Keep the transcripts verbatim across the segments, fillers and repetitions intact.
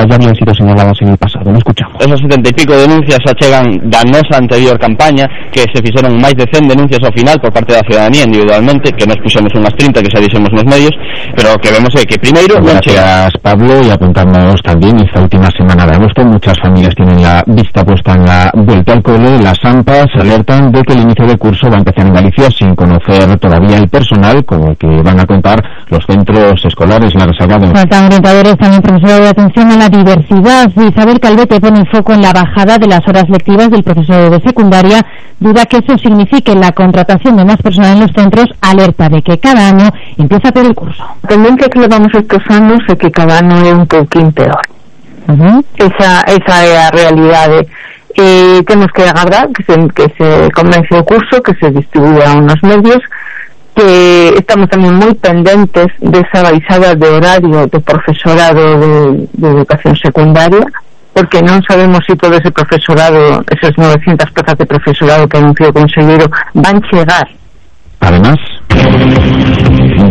ya habían sido señaladas en el pasado. Lo escuchamos. Esas setenta y pico denuncias achegan da nosa anterior campaña, que se fixeron máis de cen denuncias ao final por parte da ciudadanía individualmente, que nos puxemos unhas trinta que xa dixemos nos medios, pero que vemos é que primeiro... Gracias, Pablo, y apuntándonos también esta última semana de agosto, muchas familias tienen la vista puesta en la vuelta al cole. Las AMPAs alertan de que el inicio del curso va a empezar en Galicia sin conocer todavía el personal con el que van a contar los centros escolares. La Resalgado. Faltan orientadores, también profesor de atención a la diversidad. Isabel Calvete pone el foco en la bajada de las horas lectivas del profesor de secundaria. Duda que eso signifique la contratación de más personal en los centros. Alerta de que cada año empieza peor el curso. A tendencia que levamos estes anos é que cada ano é un pouquín peor. Uh-huh. Esa, esa é a realidade. E temos que agardar que se, que se comence o curso, que se distribúa unos medios, que estamos tamén moi pendentes desa baixada de horario do profesorado de, de educación secundaria, porque non sabemos se todo ese profesorado, esas novecientas plazas de profesorado que anunció o conselleiro, van chegar. Además,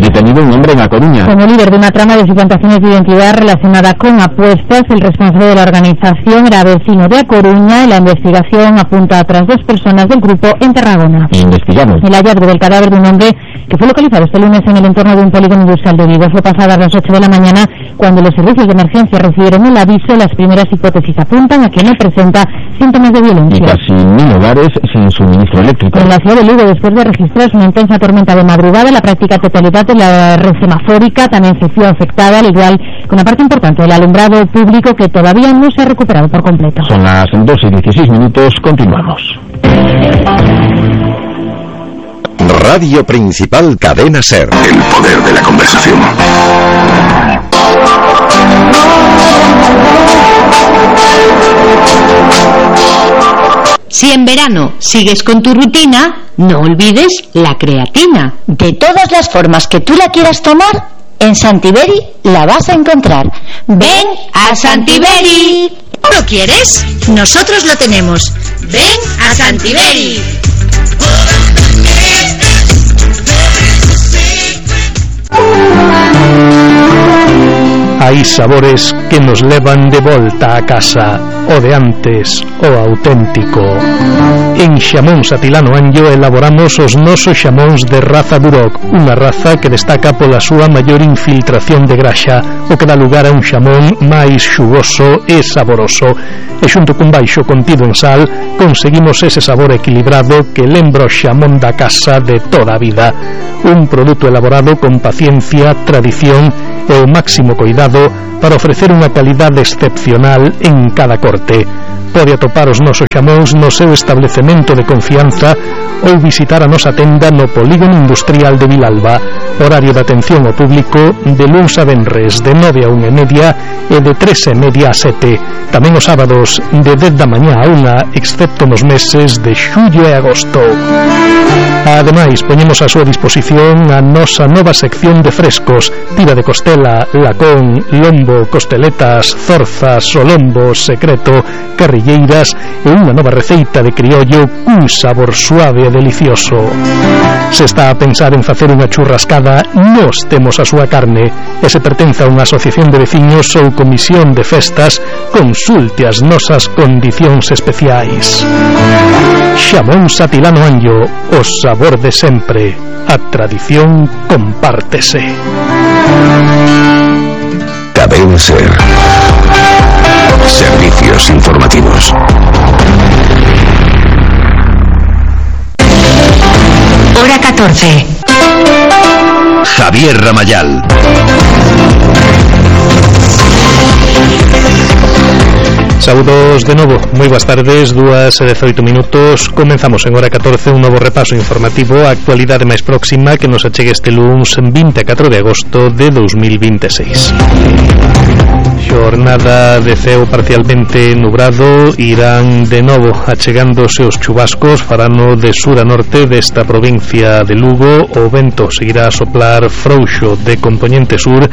detenido un hombre en A Coruña. Como líder de una trama de suplantaciones de identidad relacionada con apuestas, el responsable de la organización era vecino de A Coruña y la investigación apunta a otras dos personas del grupo en Tarragona. Investigamos. El hallazgo del cadáver de un hombre que fue localizado este lunes en el entorno de un polígono industrial de Vigo fue pasadas las ocho de la mañana cuando los servicios de emergencia recibieron el aviso. Las primeras hipótesis apuntan a que no presenta síntomas de violencia. Y casi mil hogares sin suministro eléctrico. En la ciudad de Lugo, después de registrarse una intensa tormenta de madrugada, la práctica totalidad de la red semafórica también se vio afectada, al igual que una parte importante del alumbrado público que todavía no se ha recuperado por completo. Son las dos y dieciséis minutos, continuamos. Radio Principal Cadena Ser. El poder de la conversación. Si en verano sigues con tu rutina, no olvides la creatina. De todas las formas que tú la quieras tomar, en Santiberi la vas a encontrar. ¡Ven a Santiberi! ¿Lo quieres? Nosotros lo tenemos. ¡Ven a Santiberi! Hai sabores que nos levan de volta a casa, o de antes, o auténtico. En Xamóns Atilano Anllo elaboramos os nosos xamóns de raza Duroc, unha raza que destaca pola súa maior infiltración de graxa, o que dá lugar a un xamón máis xugoso e saboroso. E xunto cun baixo contido en sal, conseguimos ese sabor equilibrado que lembra o xamón da casa de toda a vida. Un produto elaborado con paciencia, tradición e o máximo cuidado para ofrecer unha calidade excepcional en cada corte. Pode atopar os nosos xamóns no seu establecemento de confianza ou visitar a nosa tenda no Polígono Industrial de Vilalba. Horario de atención ao público de luns a venres de nove a unha e media e de tres e media a sete. Tamén os sábados de dez da mañá a unha, excepto nos meses de xullo e agosto. Ademais, poñemos a súa disposición a nosa nova sección de frescos: tira de costela, lacón, lombo, costeletas, zorzas, solombo, secreto, carrilleiras e unha nova receita de criollo cun sabor suave e delicioso. Se está a pensar en facer unha churrascada, nós temos a súa carne. E se pertence a unha asociación de veciños ou comisión de festas, consulte as nosas condicións especiais. Xamóns Atilano Anllo, o sabor de sempre. A tradición compártese. Cadena Ser. Servicios informativos. Hora catorce. Javier Ramayal. Saúdos de novo, moi boas tardes, dúas e dezoito minutos. Comenzamos en hora catorce un novo repaso informativo a actualidade máis próxima que nos achegue este luns vinte e catro de agosto de dous mil vinte e seis. Xornada de ceo parcialmente nubrado, irán de novo achegándose os chubascos, farano de sur a norte desta provincia de Lugo. O vento seguirá a soplar frouxo de compoñente sur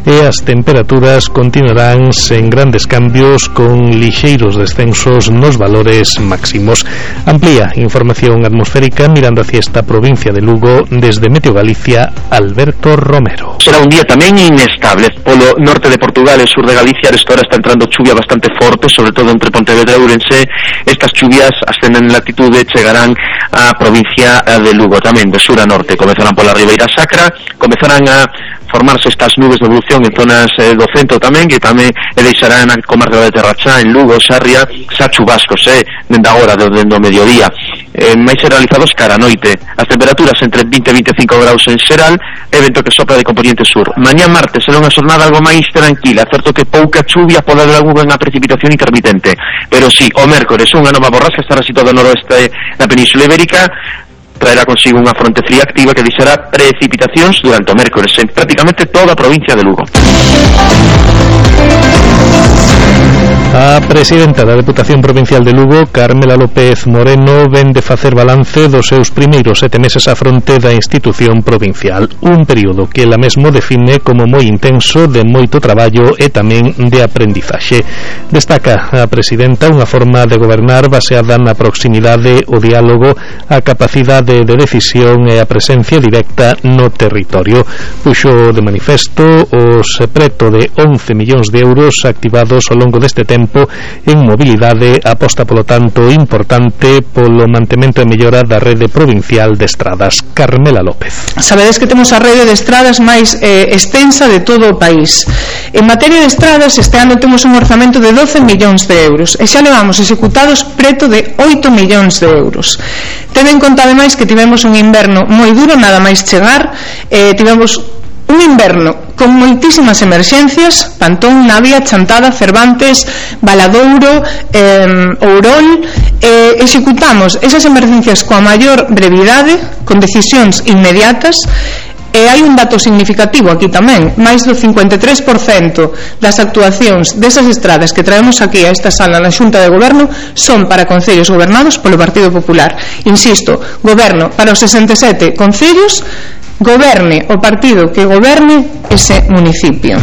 e as temperaturas continuarán sen grandes cambios, con lixeiros descensos nos valores máximos. Amplía información atmosférica mirando hacia esta provincia de Lugo desde Meteo Galicia, Alberto Romero. Será un día tamén inestable polo norte de Portugal e sur de Galicia. provincia. Esta hora está entrando chuvia bastante forte, sobre todo entre Pontevedra e Ourense. Estas chuvias ascenden en latitude, chegarán á provincia de Lugo, tamén de sur a norte. Comezarán pola Ribeira Sacra, comezarán a formarse estas nubes de evolución en zonas eh, do centro tamén, que tamén e deixarán a comarca de Terrachá, en Lugo, Sarria, xa chubascos, eh, dende agora, dende o mediodía, eh, máis realizados cara a noite. As temperaturas entre vinte e veinticinco graus en xeral, e vento que sopra de componente sur. Mañá martes será unha xornada algo máis tranquila, certo que pouca chuvia, pode haber algunha precipitación intermitente, pero sí, o mércores unha nova borrasca estará situada no noroeste da Península Ibérica, traerá consigo unha fronte fría activa que deixará precipitacións durante o mércores en prácticamente toda a provincia de Lugo. A presidenta da Deputación Provincial de Lugo, Carmela López Moreno, ven de facer balance dos seus primeiros sete meses á fronte da institución provincial, un período que ela mesmo define como moi intenso, de moito traballo e tamén de aprendizaxe. Destaca a presidenta unha forma de gobernar baseada na proximidade, o diálogo, a capacidade de decisión e a presencia directa no territorio. Puxo de manifesto os preto de once millóns de euros activados ao longo deste tempo en mobilidade, aposta polo tanto importante polo mantemento e mellora da rede provincial de estradas. Carmela López. Sabedes que temos a rede de estradas máis eh, extensa de todo o país. En materia de estradas, este ano temos un orzamento de doce millóns de euros e xa levamos executados preto de oito millóns de euros. Ten en conta ademais que tivemos un inverno moi duro, nada máis chegar, eh, tivemos un inverno con moitísimas emerxencias, Pantón, Navia, Chantada, Cervantes, Valadouro, eh, Ourol, eh, executamos esas emerxencias coa maior brevidade, con decisións inmediatas. E hai un dato significativo aquí tamén, máis do cincuenta e tres por cento das actuacións desas estradas que traemos aquí a esta sala na Xunta de Goberno son para concellos gobernados polo Partido Popular. Insisto, goberno para os sesenta e sete concellos, goberne o partido que goberne ese municipio.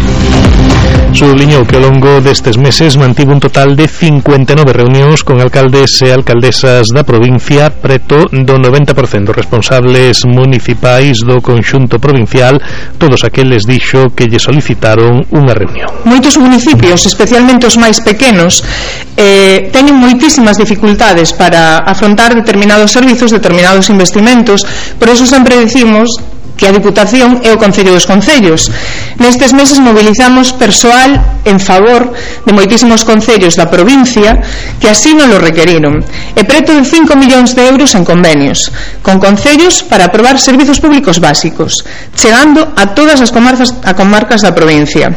Subliñou que ao longo destes meses mantivo un total de cincuenta e nove reunións con alcaldes e alcaldesas da provincia, preto do noventa por cento responsables municipais do conxunto provincial, todos aqueles dixo que lle solicitaron unha reunión. Moitos municipios, especialmente os máis pequenos, eh, teñen moitísimas dificultades para afrontar determinados servizos, determinados investimentos, por eso sempre decimos que a Diputación é o Concello dos Concellos. Nestes meses mobilizamos persoal en favor de moitísimos concellos da provincia que así non lo requeriron, e preto de cinco millóns de euros en convenios con concellos para aprobar servizos públicos básicos, chegando a todas as comarcas, a comarcas da provincia.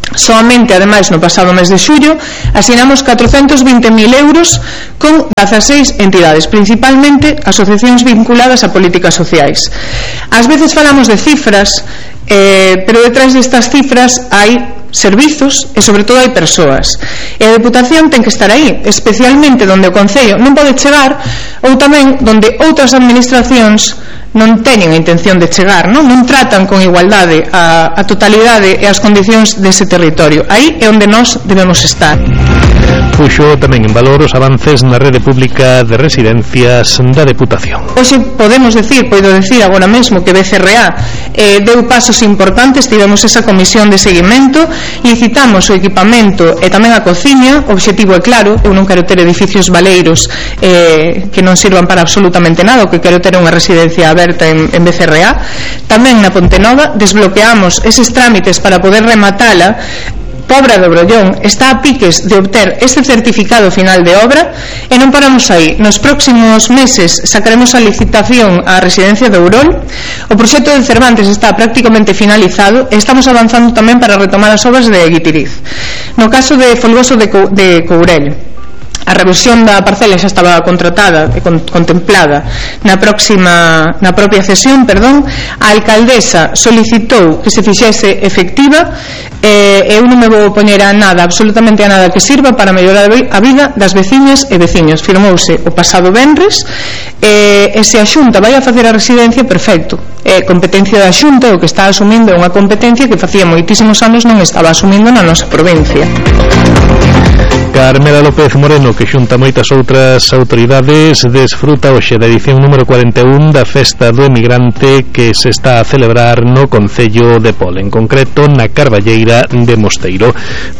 Soamente, ademais, no pasado mes de xullo asinamos catrocentos vinte mil euros con dezaseis entidades, principalmente asociacións vinculadas a políticas sociais. Ás veces falamos de cifras, eh, pero detrás destas cifras hai servizos e sobre todo hai persoas, e a Deputación ten que estar aí, especialmente donde o Concello non pode chegar, ou tamén donde outras administracións non teñen a intención de chegar, non, non tratan con igualdade a, a totalidade e as condicións dese territorio. Aí é onde nós debemos estar. Puxo tamén en valor os avances na rede pública de residencias da Deputación. Hoxe podemos decir, podo decir agora mesmo que B C R A eh, deu pasos importantes, tivemos esa comisión de seguimento, licitamos o equipamento e tamén a cociña. O obxectivo é claro, eu non quero ter edificios baleiros eh, que non sirvan para absolutamente nada, o que quero ter unha residencia aberta en, en B C R A. Tamén na Pontenova desbloqueamos eses trámites para poder rematala. Pobra do Brollón está a piques de obter este certificado final de obra e non paramos aí. Nos próximos meses sacaremos a licitación á residencia de Ourol. O proxecto de Cervantes está prácticamente finalizado e estamos avanzando tamén para retomar as obras de Guitiriz. No caso de Folgoso de, Co de Courel, a revisión da parcela xa estaba contratada e con, contemplada na próxima na propia cesión, perdón. A alcaldesa solicitou que se fixese efectiva e eu non me vou poñer a nada, absolutamente a nada que sirva para mellorar a vida das veciñas e veciños. Firmouse o pasado venres e, e se a Xunta vai a facer a residencia, perfecto, é competencia da Xunta, o que está asumindo é unha competencia que facía moitísimos anos non estaba asumindo na nosa provincia. Carmela López Moreno, que xunta moitas outras autoridades, desfruta hoxe da edición número cuarenta e un da Festa do Emigrante que se está a celebrar no Concello de Pol, en concreto na Carballeira de Mosteiro.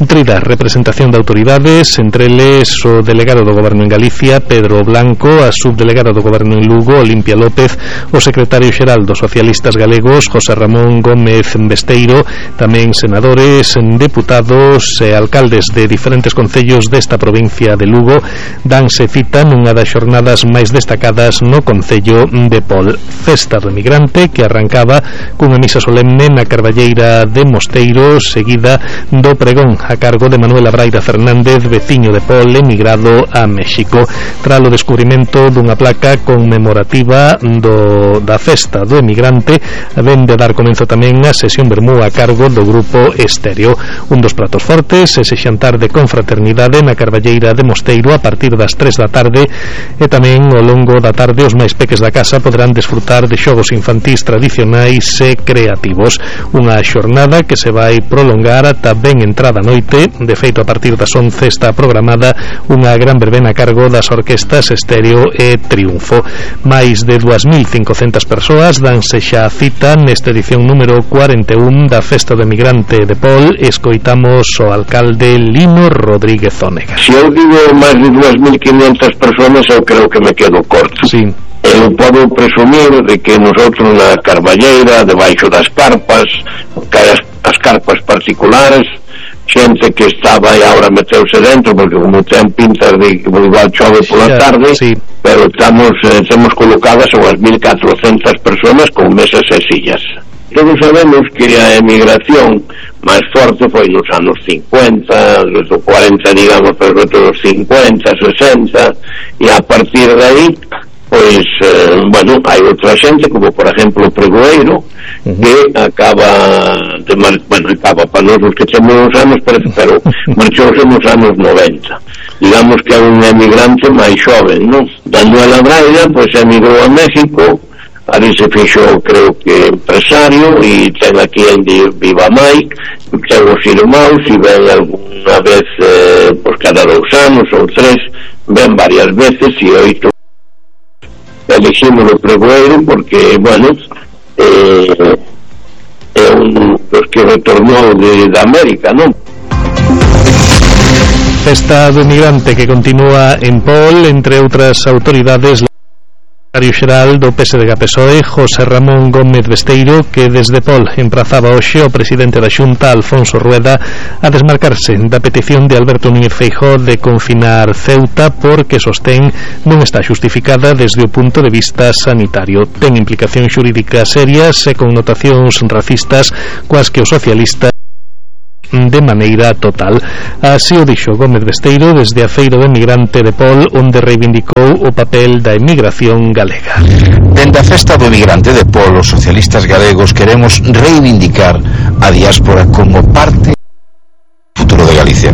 Trida representación de autoridades, entre eles o delegado do Goberno en Galicia, Pedro Blanco, a subdelegada do Goberno en Lugo, Olimpia López, o secretario xeral dos socialistas galegos, José Ramón Gómez Besteiro, tamén senadores, deputados e alcaldes de diferentes concellos desta provincia de Lugo danse cita nunha das xornadas máis destacadas no Concello de Pol. Festa do Emigrante que arrancaba cunha misa solemne na Carballeira de Mosteiro, seguida do pregón a cargo de Manuela Braida Fernández, veciño de Pol, emigrado a México, tras o descubrimento dunha placa conmemorativa do, da Festa do Emigrante, ven de dar comenzo tamén a sesión vermú a cargo do grupo Estéreo. Un dos pratos fortes, ese xantar de confraternidade na Carballeira de Mosteiro a partir das tres da tarde, e tamén ao longo da tarde os máis peques da casa poderán desfrutar de xogos infantís tradicionais e creativos. Unha xornada que se vai prolongar ata ben entrada a noite. De feito, a partir das once está programada unha gran verbena a cargo das orquestas Estéreo e Triunfo. Máis de dúas mil cincocentas persoas danse xa a cita nesta edición número cuarenta e un da Festa do Emigrante de Pol. Escoitamos o alcalde Lino Rodríguez Zónega. Se eu digo máis de dúas mil quinientas persoas, eu creo que me quedo corto. Sí. Eu podo presumir de que nosotros na Carballeira, debaixo das carpas, que as, as carpas particulares, xente que estaba e agora meteuse dentro, porque como ten pintas de que igual chove pola tarde, sí. Pero estamos, eh, temos colocadas unhas mil catrocentas persoas con mesas e sillas. Todos sabemos que a emigración máis forte foi nos anos cincuenta, nos cuarenta, digamos, pero nos cincuenta, sesenta, e a partir de aí, pois, eh, bueno, hai outra xente, como por exemplo o Pregoeiro, uh-huh. que acaba de mar... bueno, acaba para nós os que temos uns anos, pero, pero marchouse nos anos noventa. Digamos que é un emigrante máis xoven, non? Manuela Braida, pois, emigrou a México. Ali se fixo, creo que empresario, e ten aquí en Viva Mai, ten os irmãos, e ven alguna vez, eh, pues cada dous anos ou tres, ven varias veces, e oito elegimos o Pregoeiro porque, bueno, eh, é un dos que retornou de, de América, non? Festa do Emigrante que continúa en Pol, entre outras autoridades, secretario xeral do P S D G P S O E, José Ramón Gómez Besteiro, que desde Pol emprazaba hoxe o presidente da Xunta, Alfonso Rueda, a desmarcarse da petición de Alberto Núñez Feijóo de confinar Ceuta porque sostén non está xustificada desde o punto de vista sanitario. Ten implicacións xurídicas serias e connotacións racistas coas que o socialista de maneira total. Así o dixo Gómez Besteiro desde a Feira do Emigrante de Pol, onde reivindicou o papel da emigración galega. Dende a Festa do Emigrante de Pol, os socialistas galegos queremos reivindicar a diáspora como parte do futuro de Galicia.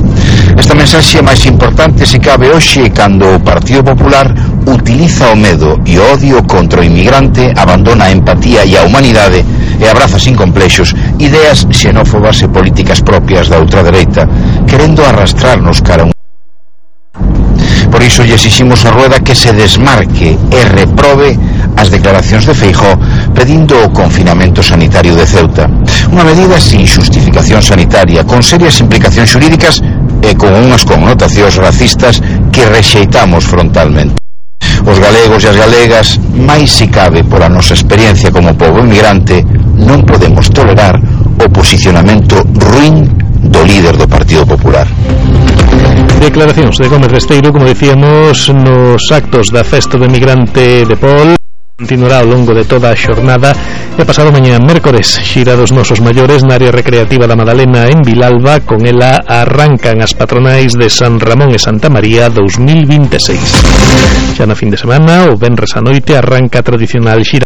Esta mensaxe é máis importante se cabe hoxe cando o Partido Popular utiliza o medo e o odio contra o inmigrante, abandona a empatía e a humanidade e abraza sin complexos ideas xenófobas e políticas propias da ultradereita, querendo arrastrarnos cara a un... Por iso lle exiximos a Rueda que se desmarque e reprobe as declaracións de Feijóo pedindo o confinamento sanitario de Ceuta, unha medida sin xustificación sanitaria, con serias implicacións xurídicas e con unhas connotacións racistas que rexeitamos frontalmente. Os galegos e as galegas, máis se cabe por a nosa experiencia como pobo emigrante, non podemos tolerar o posicionamento ruín do líder do Partido Popular. Declaracións de Gómez Besteiro, como decíamos, nos actos da Festa do Emigrante de Pol. Continuará ao longo de toda a xornada e pasado mañá mércores xira dos nosos maiores na área recreativa da Madalena en Vilalba. Con ela arrancan as patronais de San Ramón e Santa María dous mil vinte e seis. Xa na fin de semana, o venres a noite, arranca a tradicional xira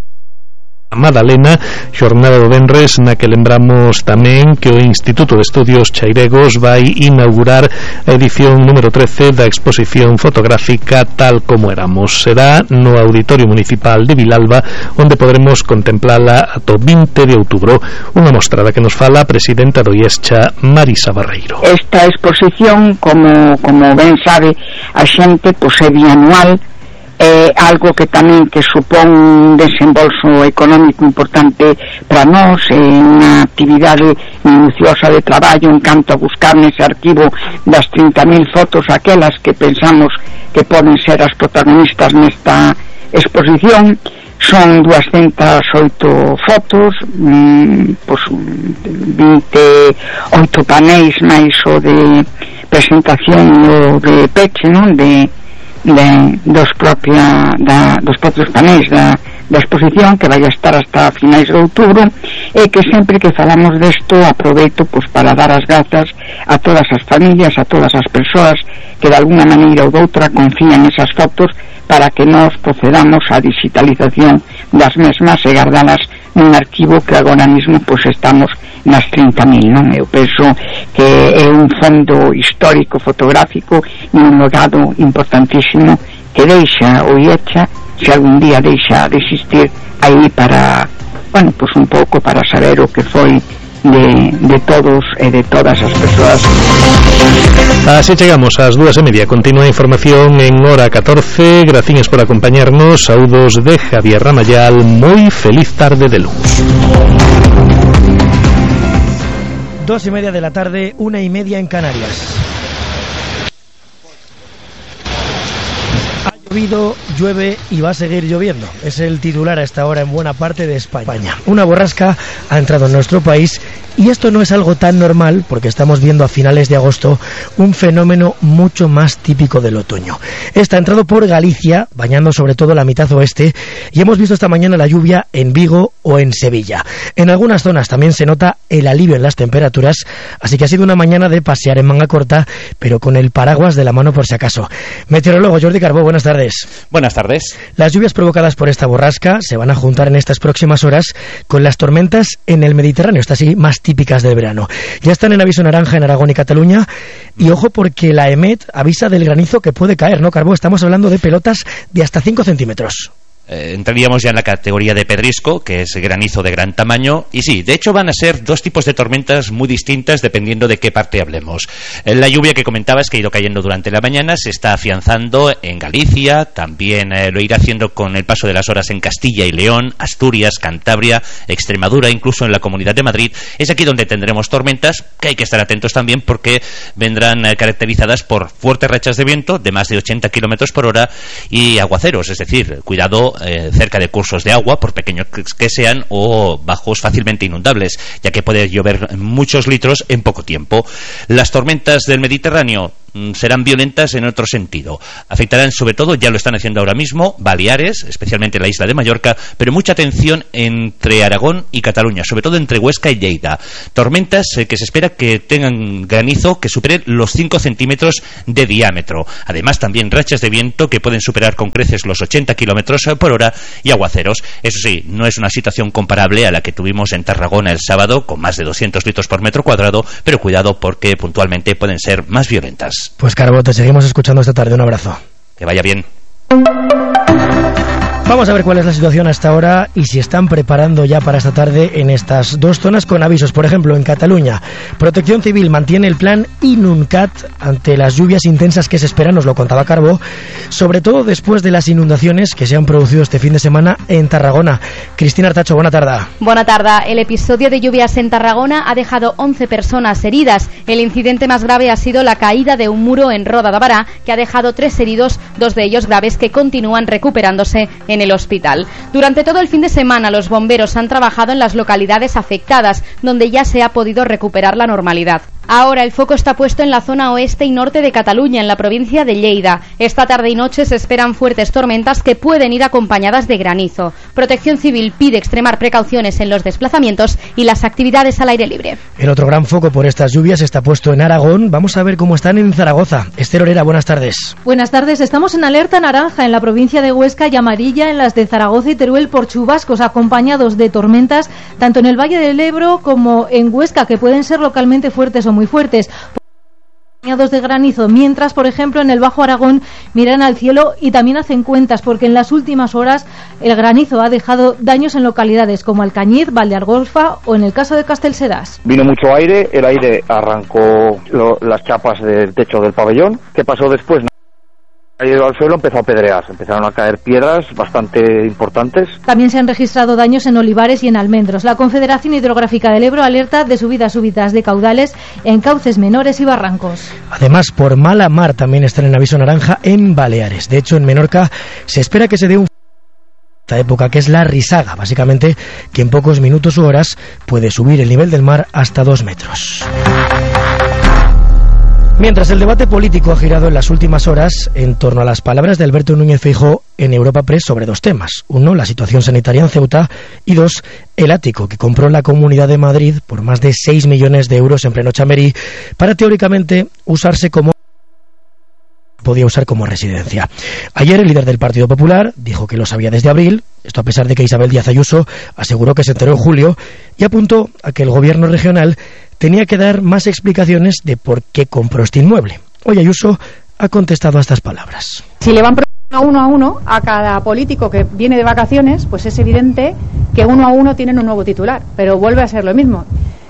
Madalena, xornada do venres na que lembramos tamén que o Instituto de Estudios Chairegos vai inaugurar a edición número trece da exposición fotográfica Tal como éramos. Será no Auditorio Municipal de Vilalba, onde podremos contemplala ata o vinte de outubro. Unha mostrada que nos fala a presidenta do IESCHA, Marisa Barreiro. Esta exposición, como, como ben sabe a xente, pois é bianual, é algo que tamén que supón un desembolso económico importante para nós, é unha actividade minuciosa de traballo en canto a buscar nese arquivo das trinta mil fotos aquelas que pensamos que poden ser as protagonistas nesta exposición. Son duascentas oito fotos, mmm, pues, vinte e oito panéis máis o de presentación o de peche, non? De De, dos, propia, da, dos propios panéis da, da exposición que vai a estar hasta finais de outubro, e que sempre que falamos desto aproveito pues, para dar as grazas a todas as familias, a todas as persoas que de alguna maneira ou doutra confían esas fotos para que nos procedamos á digitalización das mesmas e guardalas nun arquivo que agora mismo pues, estamos nas trinta mil, non? Eu penso que é un fondo histórico fotográfico e un legado importantísimo que deixa o IESCHA, se algún día deixa de existir, aí para, bueno, pues un pouco para saber o que foi de, de todos e de todas as persoas. Así chegamos ás dúas e media. Continúa a información en hora catorce. Graciñas por acompañarnos. Saúdos de Javier Ramayal. Moi feliz tarde de luz. Dos y media de la tarde, una y media en Canarias. Ha llovido, llueve y va a seguir lloviendo. Es el titular a esta hora en buena parte de España. Una borrasca ha entrado en nuestro país y esto no es algo tan normal porque estamos viendo a finales de agosto un fenómeno mucho más típico del otoño. Esta ha entrado por Galicia, bañando sobre todo la mitad oeste, y hemos visto esta mañana la lluvia en Vigo o en Sevilla. En algunas zonas también se nota el alivio en las temperaturas, así que ha sido una mañana de pasear en manga corta, pero con el paraguas de la mano por si acaso. Meteorólogo Jordi Carbó, buenas tardes. Buenas tardes. Las lluvias provocadas por esta borrasca se van a juntar en estas próximas horas con las tormentas en el Mediterráneo, estas sí más típicas del verano. Ya están en aviso naranja en Aragón y Cataluña, y ojo porque la EMET avisa del granizo que puede caer, ¿no, Carbó? Estamos hablando de pelotas de hasta cinco centímetros. Eh, entraríamos ya en la categoría de pedrisco, que es granizo de gran tamaño, y sí, de hecho van a ser dos tipos de tormentas muy distintas dependiendo de qué parte hablemos. Eh, la lluvia que comentabas, que ha ido cayendo durante la mañana, se está afianzando en Galicia, también eh, lo irá haciendo con el paso de las horas en Castilla y León, Asturias, Cantabria, Extremadura, incluso en la Comunidad de Madrid. Es aquí donde tendremos tormentas, que hay que estar atentos también porque vendrán eh, caracterizadas por fuertes rachas de viento de más de ochenta kilómetros por hora y aguaceros, es decir, cuidado Eh, cerca de cursos de agua, por pequeños que sean, o bajos fácilmente inundables, ya que puede llover muchos litros en poco tiempo. Las tormentas del Mediterráneo serán violentas en otro sentido. Afectarán sobre todo, ya lo están haciendo ahora mismo, Baleares, especialmente la isla de Mallorca, pero mucha atención entre Aragón y Cataluña, sobre todo entre Huesca y Lleida. Tormentas eh, que se espera que tengan granizo que superen los cinco centímetros de diámetro. Además, también rachas de viento que pueden superar con creces los ochenta kilómetros por hora y aguaceros. Eso sí, no es una situación comparable a la que tuvimos en Tarragona el sábado, con más de doscientos litros por metro cuadrado, pero cuidado porque puntualmente pueden ser más violentas. Pues Carbó, te seguimos escuchando esta tarde. Un abrazo. Que vaya bien. Vamos a ver cuál es la situación hasta ahora y si están preparando ya para esta tarde en estas dos zonas con avisos. Por ejemplo, en Cataluña, Protección Civil mantiene el plan Inuncat ante las lluvias intensas que se esperan, nos lo contaba Carbó, sobre todo después de las inundaciones que se han producido este fin de semana en Tarragona. Cristina Artacho, buena tarde. Buena tarde. El episodio de lluvias en Tarragona ha dejado once personas heridas. El incidente más grave ha sido la caída de un muro en Roda de Bará, que ha dejado tres heridos, dos de ellos graves que continúan recuperándose en el hospital. Durante todo el fin de semana los bomberos han trabajado en las localidades afectadas, donde ya se ha podido recuperar la normalidad. Ahora el foco está puesto en la zona oeste y norte de Cataluña, en la provincia de Lleida. Esta tarde y noche se esperan fuertes tormentas que pueden ir acompañadas de granizo. Protección Civil pide extremar precauciones en los desplazamientos y las actividades al aire libre. El otro gran foco por estas lluvias está puesto en Aragón. Vamos a ver cómo están en Zaragoza. Esther Orera, buenas tardes. Buenas tardes. Estamos en alerta naranja en la provincia de Huesca y amarilla en las de Zaragoza y Teruel por chubascos acompañados de tormentas, tanto en el Valle del Ebro como en Huesca, que pueden ser localmente fuertes o muy fuertes, acompañados de granizo, mientras, por ejemplo, en el Bajo Aragón miran al cielo y también hacen cuentas, porque en las últimas horas el granizo ha dejado daños en localidades como Alcañiz, Valdeargolfa o en el caso de Castelsedás. Vino mucho aire, el aire arrancó lo, las chapas del techo del pabellón. ¿Qué pasó después? Caído al suelo, empezó a pedrear, empezaron a caer piedras bastante importantes. También se han registrado daños en olivares y en almendros. La Confederación Hidrográfica del Ebro alerta de subidas súbitas de caudales en cauces menores y barrancos. Además, por mala mar también están en aviso naranja en Baleares. De hecho, en Menorca se espera que se dé un esta época, que es la risaga, básicamente que en pocos minutos u horas puede subir el nivel del mar hasta dos metros. Mientras el debate político ha girado en las últimas horas en torno a las palabras de Alberto Núñez Feijóo en Europa Press sobre dos temas. Uno, la situación sanitaria en Ceuta, y dos, el ático que compró la Comunidad de Madrid por más de seis millones de euros en pleno Chamberí para teóricamente usarse como podía usar como residencia. Ayer el líder del Partido Popular dijo que lo sabía desde abril, esto a pesar de que Isabel Díaz Ayuso aseguró que se enteró en julio, y apuntó a que el gobierno regional tenía que dar más explicaciones de por qué compró este inmueble. Hoy Ayuso ha contestado a estas palabras. Si le van preguntando uno a uno a cada político que viene de vacaciones, pues es evidente que uno a uno tienen un nuevo titular, pero vuelve a ser lo mismo.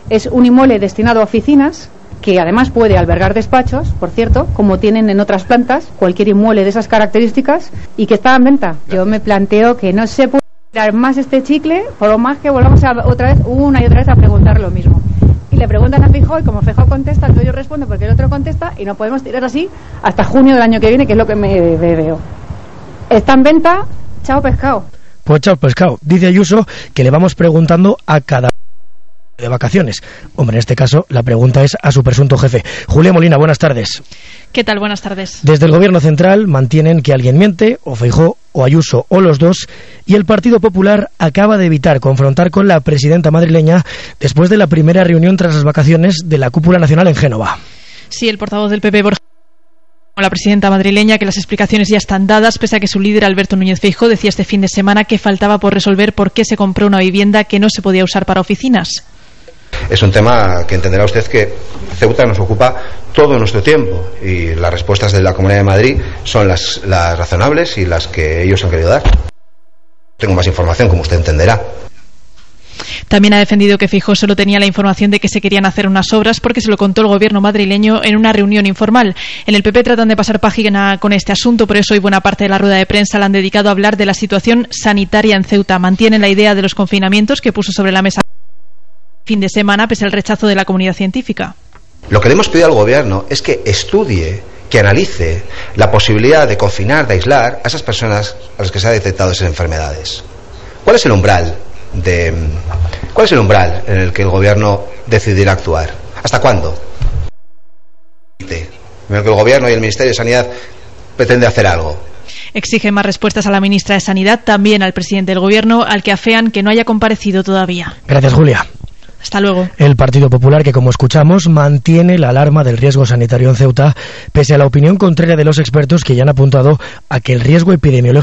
Es un inmueble destinado a oficinas, que además puede albergar despachos, por cierto, como tienen en otras plantas, cualquier inmueble de esas características, y que está en venta. Yo me planteo que no se puede dar más este chicle, por lo más que volvamos a, otra vez, una y otra vez a preguntar lo mismo. Y le preguntan a Feijóo, y como Feijóo contesta, entonces yo respondo porque el otro contesta, y no podemos tirar así hasta junio del año que viene, que es lo que me, me veo. Está en venta, chao pescado. Pues chao pescado. Dice Ayuso que le vamos preguntando a cada de vacaciones. Hombre, en este caso la pregunta es a su presunto jefe. Julia Molina, buenas tardes. ¿Qué tal? Buenas tardes. Desde el Gobierno Central mantienen que alguien miente, o Feijóo, o Ayuso, o los dos, y el Partido Popular acaba de evitar confrontar con la presidenta madrileña después de la primera reunión tras las vacaciones de la cúpula nacional en Génova. Sí, el portavoz del P P, Borja, la presidenta madrileña, que las explicaciones ya están dadas, pese a que su líder, Alberto Núñez Feijóo, decía este fin de semana que faltaba por resolver por qué se compró una vivienda que no se podía usar para oficinas. Es un tema que entenderá usted que Ceuta nos ocupa todo nuestro tiempo y las respuestas de la Comunidad de Madrid son las, las razonables y las que ellos han querido dar. Tengo más información, como usted entenderá. También ha defendido que Feijóo solo tenía la información de que se querían hacer unas obras porque se lo contó el gobierno madrileño en una reunión informal. En el P P tratan de pasar página con este asunto, por eso hoy buena parte de la rueda de prensa la han dedicado a hablar de la situación sanitaria en Ceuta. Mantienen la idea de los confinamientos que puso sobre la mesa fin de semana, pese al rechazo de la comunidad científica. Lo que le hemos pedido al gobierno es que estudie, que analice la posibilidad de confinar, de aislar a esas personas a las que se ha detectado esas enfermedades. ¿Cuál es el umbral de cuál es el umbral en el que el gobierno decidirá actuar? ¿Hasta cuándo? En el que el gobierno y el Ministerio de Sanidad pretende hacer algo. Exige más respuestas a la ministra de Sanidad, también al presidente del gobierno, al que afean que no haya comparecido todavía. Gracias, Julia. Hasta luego. El Partido Popular, que como escuchamos, mantiene la alarma del riesgo sanitario en Ceuta, pese a la opinión contraria de los expertos que ya han apuntado a que el riesgo epidemiológico